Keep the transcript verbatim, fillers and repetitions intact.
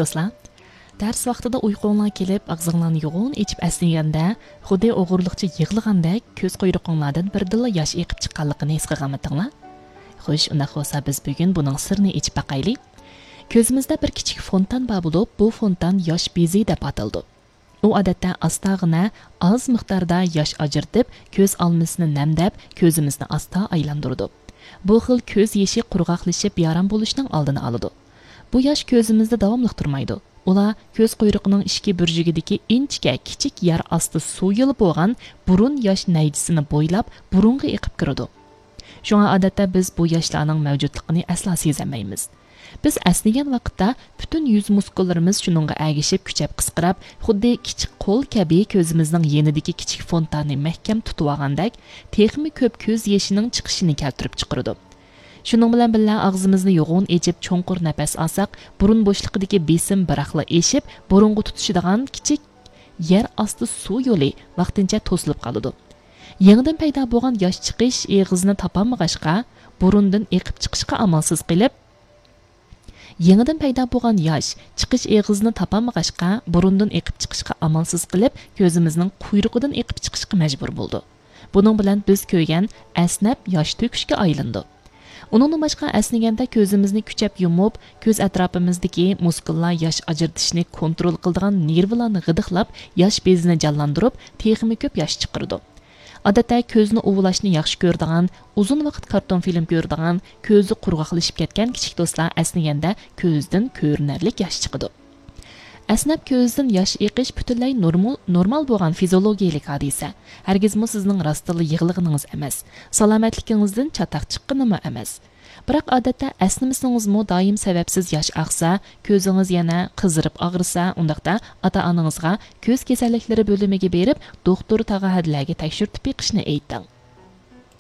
دوستلار، دەرس ۋاقتىدا ئۇيقۇڭلار كېلىپ، ئاغزىڭلارنى يوغان ئېچىپ ئەسنىگەندە، خۇددى ئوغرىلىقچە يىغلىغاندەك كۆز قۇيرۇقۇڭلاردىن بىردىنلا ياش ئېقىپ چىققانلىقىنى ھېس قىلغانمىدىڭلار؟ خوش، ئۇنداق بولسا بىز بۈگۈن بۇنىڭ سىرىنى ئېچىپ باقايلى. كۆزىمىزدە بىر كىچىك فونتان بار بولۇپ، بۇ فونتان ياش بېزى دەپ ئاتىلىدۇ. ئۇ ئادەتتە ئاستاغىنە ئاز مىقداردا ياش ئاجرىتىپ، كۆز ئالمىسىنى نەمدەپ، كۆزىمىزنى ئاستا ئايلاندۇرىدۇ. بۇ خىل كۆز يېشى قۇرغاقلىشىپ يارام بولۇشنىڭ ئالدىنى ئالىدۇ. بۇ ياش كۆزىمىزدە داۋاملىق تۇرمايدۇ. ئۇلار كۆز قۇيرۇقىنىڭ ئىچكى بۇرجىكىدىكى ئىنچىكە كىچىك يەر ئاستى سۇ يولى بولغان بۇرۇن ياش نەيزىسىنى بويلاپ بۇرۇنغا ئېقىپ كىرىدۇ. شۇڭا ئادەتتە بىز بۇ ياشلارنىڭ مەۋجۇتلۇقىنى ئەسلا سېزەلمەيمىز. بىز ئەسنىگەن ۋاقىتتا پۈتۈن يۈز مۇسكۇللىرىمىز شۇنىڭغا ئەگىشىپ كۈچەپ قىسقىراپ، خۇددى كىچىك قول كەبى كۆزىمىزنىڭ يېنىدىكى كىچىك فونتاننى مەھكەم تۇتۇۋالغاندەك، تېخىمۇ كۆپ كۆز يېشىنىڭ چىقىشىنى كەلتۈرۈپ چىقىرىدۇ. شۇنىڭ بىلەن بىللە، ئاغزىمىزنى يوغان ئېچىپ چوڭقۇر نەپەس ئالساق، بۇرۇن بوشلۇقىدىكى بېسىم بىراقلا ئېشىپ، بۇرۇنغا تۇتىشىدىغان كىچىك يەر ئاستى سۇ يولى ۋاقتىنچە توسۇلۇپ قالىدۇ. يېڭىدىن پەيدا بولغان ياش چىقىش ئېغىزىنى تاپالمىغاچقا، بۇرۇندىن ئېقىپ چىقىشقا ئامالسىز قېلىپ، يېڭىدىن پەيدا بولغان ياش چىقىش ئېغىزىنى تاپالمىغاچقا، بۇرۇندىن ئېقىپ چىقىشقا ئامالسىز قېلىپ، كۆزىمىزنىڭ قۇيرۇقىدىن ئېقىپ چىقىشقا مەجبۇر بولىدۇ. بۇنىڭ بىلەن بىز كۆرگەن ئەسنەپ ياش تۆكۈشكە ئايلىنىدۇ. ئۇنىڭدىن باشقا، ئەسنىگەندە كۆزىمىزنى كۈچەپ يۇمۇپ، كۆز ئەتراپىمىزدىكى مۇسكۇللار ياش ئاجرىتىشنى كونترول قىلىدىغان نېرۋىلارنى غىدىقلاپ، ياش بېزىنى جانلاندۇرۇپ، تېخىمۇ كۆپ ياش چىقىرىدۇ. ئادەتتە كۆزنى ئۇۋىلاشنى ياخشى كۆرىدىغان، ئۇزۇن ۋاقىت كارتون فىلىم كۆرىدىغان، كۆزى قۇرغاقلىشىپ كەتكەن كىچىك دوستلار ئەسنىگەندە كۆزدىن كۆرۈنەرلىك ياش چىقىدۇ. ئەسنەپ كۆزدىن ياش ئېقىش پۈتۈنلەي نورمال، نورمال بولغان فىزىئولوگىيەلىك ھادىسە. ھەرگىزمۇ سىزنىڭ راستتىنلا يىغلىغىنىڭىز ئەمەس، سالامەتلىكىڭىزدىن چاتاق چىققىنىمۇ ئەمەس. بىراق ئادەتتە ئەسنىمىسىڭىزمۇ دائىم سەۋەبسىز ياش ئاقسا، كۆزىڭىز يەنە قىزىرىپ ئاغرىسا، ئۇنداقتا ئاتا-ئانىڭىزغا كۆز كېسەللىكلىرى بۆلۈمىگە بېرىپ، دوختۇر تاغا ھەدىلەرگە تەكشۈرتۈپ بېقىشنى ئېيتىڭ.